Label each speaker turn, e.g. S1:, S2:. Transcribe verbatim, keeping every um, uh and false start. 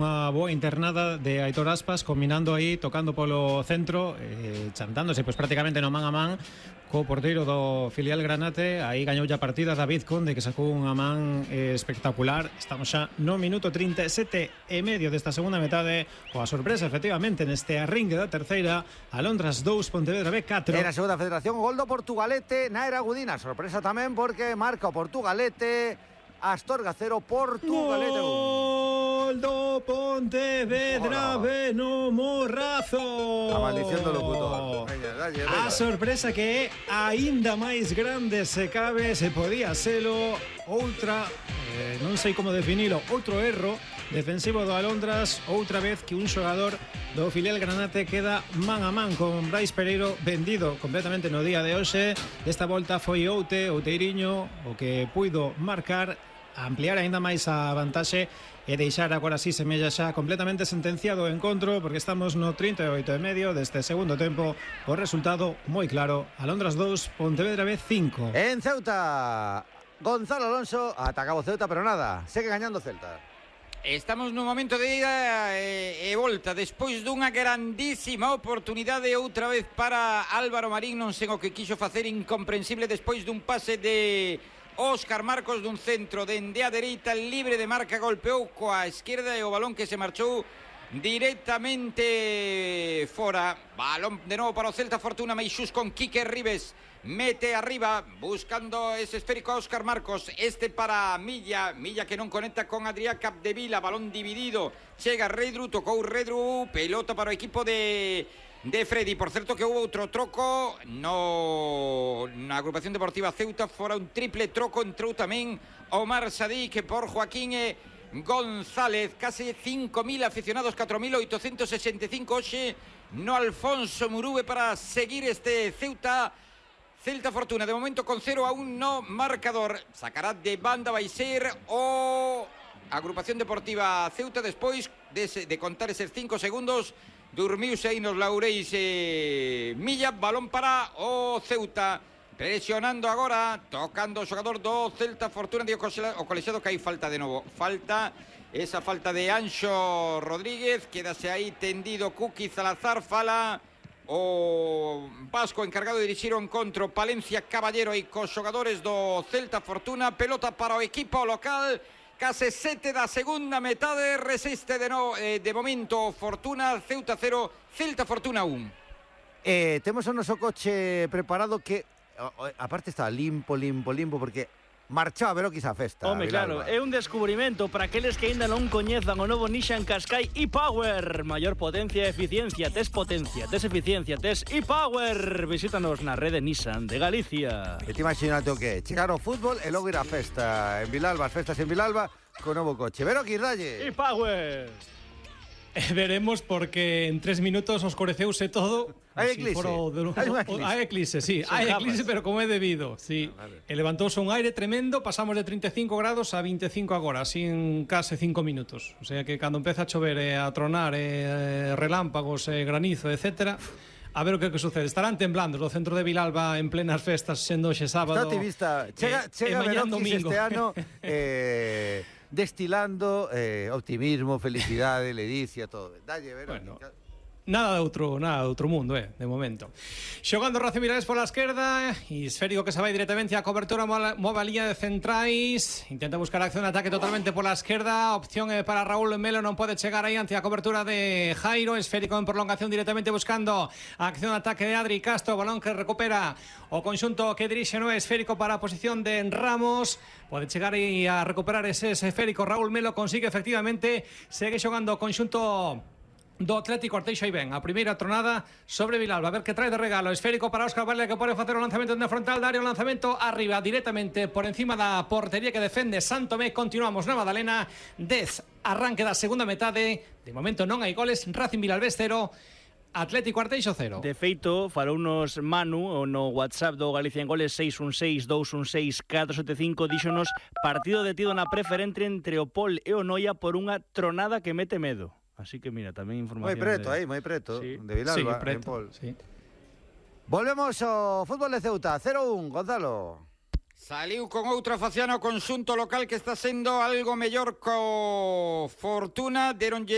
S1: Unha boa internada de Aitor Aspas, combinando aí, tocando polo centro, eh, chantándose pois prácticamente no man a man co porteiro do filial Granate. Aí gañou a partida David Conde, que sacou unha man eh, espectacular. Estamos xa no minuto trinta e sete e medio desta segunda metade, coa sorpresa efectivamente neste arrinque da terceira. Alondras dous, Pontevedra B catro.
S2: Era a segunda federación, gol do Portugalete na era Gudina. Sorpresa tamén porque marca o Portugalete. Astorga cero, Portugalete un.
S1: Gol do Pontevedra B no Morrazo.
S2: A maldición do locutor. Veña, dalle,
S1: a sorpresa que é aínda máis grande se cabe, se podía selo. Outra, eh, non sei como definilo, outro erro defensivo do Alondras, outra vez que un xogador do filial Granate queda man a man con Brais Pereiro, vendido completamente no día de hoxe. Desta volta foi Oute, Outeiriño, o que puido marcar, ampliar aínda máis a vantaxe e deixar agora si semella xa completamente sentenciado o encontro, porque estamos no trinta e oito e medio deste segundo tempo. O resultado moi claro: Alondras dous, Pontevedra B cinco.
S2: En Ceuta, Gonzalo Alonso atacaba o Ceuta, pero nada, segue gañando Celta.
S3: Estamos nun momento de ida e, e volta despois dunha grandísima oportunidade outra vez para Álvaro Marín, non sei o que quixo facer, incomprensible, despois dun pase de Óscar Marcos dun centro dende a dereita, libre de marca, golpeou coa esquerda e o balón que se marchou directamente fora. Balón de novo para o Celta Fortuna, Meixús con Quique Ribes, mete arriba buscando ese esférico a Óscar Marcos, este para Milla, Milla que non conecta con Adrián Capdevila, balón dividido, chega Redru, tocou Redru, pelota para o equipo de de Freddy. Por certo que houve outro troco no na agrupación deportiva Ceuta, fora un triple troco, entrou tamén Omar Sadí, que por Joaquín e González. Case cinco mil aficionados, catro mil oitocentos sesenta e cinco hoxe no Alfonso Murube para seguir este Ceuta Celta Fortuna, de momento con cero a un no marcador. Sacará de banda, vai ser o agrupación deportiva Ceuta despois de, de contar eses cinco segundos. Durmiuse aí nos laureis eh, Milla, balón para o Ceuta, presionando agora, tocando o xogador do Celta Fortuna, digo o colexiado que hai falta de novo, falta, esa falta de Anxo Rodríguez, quedase aí tendido Cuqui Salazar, fala o vasco encargado de dirixir o encontro, Palencia Caballero, e cos xogadores do Celta Fortuna, pelota para o equipo local. Case sete da segunda metade, resiste de, no, eh, de momento Fortuna, Ceuta cero, Celta Fortuna un.
S2: Eh, temos o noso coche preparado que, aparte está limpo, limpo, limpo, porque marchou a Veroquis a festa.
S4: Home, claro, é un descubrimento para aqueles que ainda non coñezan o novo Nissan Qashqai e-Power. Maior potencia e eficiencia, tes potencia, tes eficiencia, tes e-Power. Visítanos na rede Nissan de Galicia.
S2: E te imaginate o que é, chegar ao fútbol e logo ir a festa en Vilalba, as festas en Vilalba, con novo coche. Veroquis, dalle.
S4: E-Power.
S5: Eh, veremos, porque en tres minutos oscureceuse todo.
S2: Hai eclipse.
S5: Hai eclipse, sí. Hai eclipse, pero como é debido, sí. Ah, vale. E levantouse un aire tremendo, pasamos de trinta e cinco grados a vinte e cinco agora, así en case cinco minutos. O sea que cando empeza a chover e a tronar e relámpagos e granizo, etcétera, a ver o que, que sucede. Estarán temblando no centro de Vilalba en plenas festas, sendo xe sábado.
S2: Está optimista. Chega, eh, chega Veroquis este ano eh, destilando eh, optimismo, felicidade, ledicia, todo. Dalle, Veroquis. Bueno.
S5: Nada de outro, nada de outro mundo, eh, de momento. Xogando Racing Miralles pola esquerda, e esférico que se vai directamente á cobertura, move a liña de centrais, intenta buscar acción de ataque totalmente pola esquerda, opción eh, para Raúl Melo, non pode chegar aí ante a cobertura de Jairo, esférico en prolongación directamente buscando a acción de ataque de Adri Castro, balón que recupera o conxunto que dirixe no esférico para a posición de Ramos, pode chegar aí a recuperar ese esférico Raúl Melo, consigue efectivamente, segue xogando o conxunto do Atlético Arteixo. Aí ven a primeira tronada sobre Vilalba, a ver que trae de regalo, esférico para Óscar Valle, que pode facer o lanzamento na frontal da área, o lanzamento arriba directamente por encima da portería que defende Santomé. Continuamos na Madalena, dez arranque da segunda metade, de momento non hai goles. Racing Vilalbés cero, Atlético Arteixo cero.
S4: De feito, falounos Manu no WhatsApp do Galicia en Goles seis un seis, dous un seis, catro sete cinco, díxonos partido detido na preferente entre o Pol e o Noia por unha tronada que mete medo. Así que mira, tamén información.
S2: Moi preto
S4: de...
S2: aí, moi preto,
S4: sí.
S2: de Vilalba,
S5: sí, preto,
S2: en Pol.
S5: Sí.
S2: Volvemos ao fútbol de Ceuta, cero un, Gonzalo.
S3: Saliu con outra faciana o conxunto local que está sendo algo mellor co Fortuna, deronlle